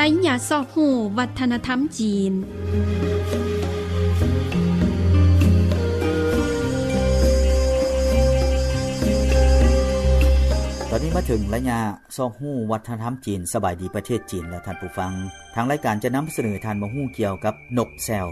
ໄຕຫຍາຊອກຮູ້ວັດທະນະທຳຈີນ. ຕອນນີ້ມາເຖິງໄລຍະຊອກຮູ້ວັດທະນະທຳຈີນ. ສະບາຍດີປະເທດຈີນ ແລະ ທ່ານຜູ້ຟັງ. ທາງລາຍການຈະນຳສະເໜີທ່ານມາຮູ້ກ່ຽວກັບນົກແຊວ.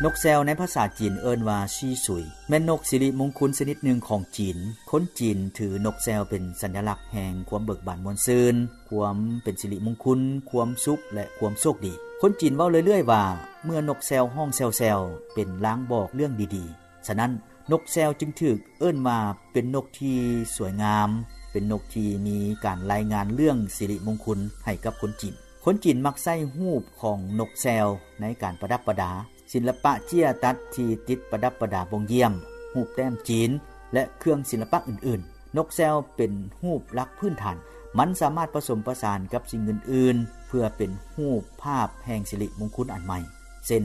ນົກແຊວໃນພາສາຈີນເອີ້ນວ່າຊີຊຸຍ ແມ່ນນົກສິລິມຸງຄຸນຊະນິດໜຶ່ງຂອງຈີນ. ຄົນຈີນຖືນົກແຊວເປັນສັນຍະລັກແຫ່ງຄວາມເບີກບານມ່ວນຊື່ນ, ຄວາມເປັນສິລິມຸງຄຸນ, ຄວາມສຸກ ແລະ ຄວາມໂຊກດີ. ຄົນຈີນເວົ້າເລື້ອຍໆວ່າ ເມື່ອນົກແຊວຮ້ອງແຊວໆ ເປັນລາງບອກເລື່ອງດີໆ. ສະນັ້ນ, ນົກແຊວຈຶ່ງຖືກເອີ້ນວ່າເປັນນົກທີ່ສວຍງາມ, ເປັນນົກທີ່ມີການລາຍງານເລື່ອງສິລິມຸງຄຸນໃຫ້ກັບຄົນຈີນ. ຄົນຈີນມັກໃຊ້ຮູບຂອງນົກແຊວໃນການປະດັບປະດາ, ສິນລະປະເຈ້ຍຕັດທີ່ຕິດປະດັບປະດາບົ່ງຢ້ຽມ, ຮູບແຕ້ມຈີນ ແລະ ເຄື່ອງສິນລະປະອື່ນໆ. ນົກແຊວເປັນຮູບຫຼັກພື້ນຖານ. ມັນສາມາດປະສົມປະສານກັບສິ່ງອື່ນໆ ເພື່ອເປັນຮູບພາບແຫ່ງສິລິມຸງຄຸນອັນໃໝ່. ເຊັ່ນ,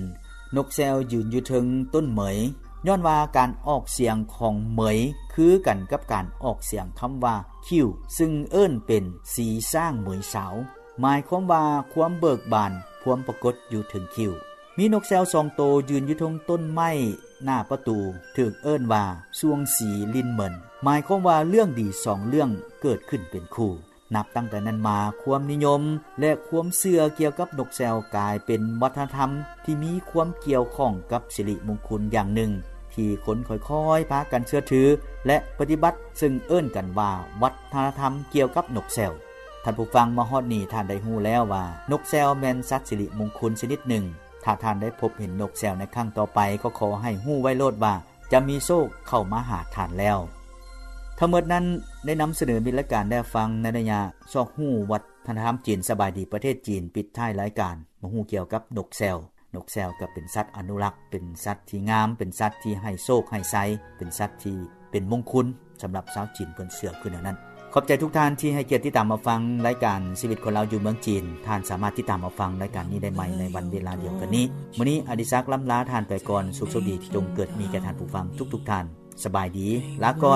ນົກແຊວຢືນຢູ່ເທິງຕົ້ນເໝີຍ, ຍ້ອນວ່າການອອກສຽງຂອງເໝີຍຄືກັນກັບການອອກສຽງຄຳວ່າຄິ້ວ, ຊຶ່ງເອີ້ນເປັນສີຊ້າງເໝີຍສາວ, ໝາຍຄວາມວ່າຄວາມເບີກບານພວມປາກົດຢູ່ເທິງຄິ້ວ. ມີນົກແຊວສອງໂຕຢືນຢູ່ເທິງຕົ້ນໄມ້ໜ້າປະຕູ, ຖືກເອີ້ນວ່າຊ່ວງສີລິນເໝິນ, ໝາຍຄວາມວ່າເລື່ອງດີສອງເລື່ອງເກີດຂຶ້ນເປັນຄູ່. ນັບຕັ້ງແຕ່ນັ້ນມາ, ຄວາມນິຍົມ ແລະ ຄວາມເຊື່ອກ່ຽວກັບນົກແຊວກາຍເປັນວັດທະນະທຳທີ່ມີຄວາມກ່ຽວຂ້ອງກັບສິລິມຸງຄຸນຢ່າງໜຶ່ງ ທີ່ຄົນຄ່ອຍໆພາກັນເຊື່ອຖື ແລະ ປະຕິບັດ, ເຊິ່ງເອີ້ນກັນວ່າວັດທະນະທຳກ່ຽວກັບນົກແຊວ. ທ່ານຜູ້ຟັງ, ມາຮອດນີ້ທ່ານໄດ້ຮູ້ແລ້ວວ່າ ນົກແຊວແມ່ນສັດສິລິມຸງຄຸນຊະນິດໜຶ່ງ. ຖ້າທ່ານໄດ້ພົບເຫັນນົກແຊວໃນຄັ້ງຕໍ່ໄປ, ກໍຂໍໃຫ້ຮູ້ໄວ້ໂລດວ່າ ຈະມີໂຊກເຂົ້າມາຫາທ່ານແລ້ວ. ທັງໝົດນັ້ນໄດ້ນຳສະເໜີມິດລາຍການແດ່ຟັງໃນໄລຍະຊອກຮູ້ວັດທະນະທຳຈີນ. ສະບາຍດີປະເທດຈີນ ປິດທ້າຍລາຍການມາຮູ້ກ່ຽວກັບນົກແຊວ. ນົກແຊວກໍເປັນສັດອະນຸລັກ, ເປັນສັດທີ່ງາມ, ເປັນສັດທີ່ໃຫ້ໂຊກໃຫ້ໄຊ, ເປັນສັດທີ່ເປັນມົງຄຸນສຳລັບຊາວຈີນເພິ່ນເຊື່ອຄືແນວນັ້ນ. ຂອບໃຈທຸກທ່ານທີ່ໃຫ້ກຽດຕິດຕາມຮັບຟັງລາຍການຊີວິດຄົນລາວຢູ່ເມືອງຈີນ. ທ່ານສາມາດຕິດຕາມຮັບຟັງລາຍການນີ້ໄດ້ໃໝ່ໃນວັນເວລາດຽວກັນນີ້. ມື້ນີ້ອາດິສັກ ລ້ຳລາທ່ານໄປກ່ອນ. ສຸກໂຊກດີ ຈົ່ງເກີດມີແກ່ທ່ານຜູ້ຟັງທຸກໆທ່ານ. ສະບາຍດີ, ລາກ່ອນ.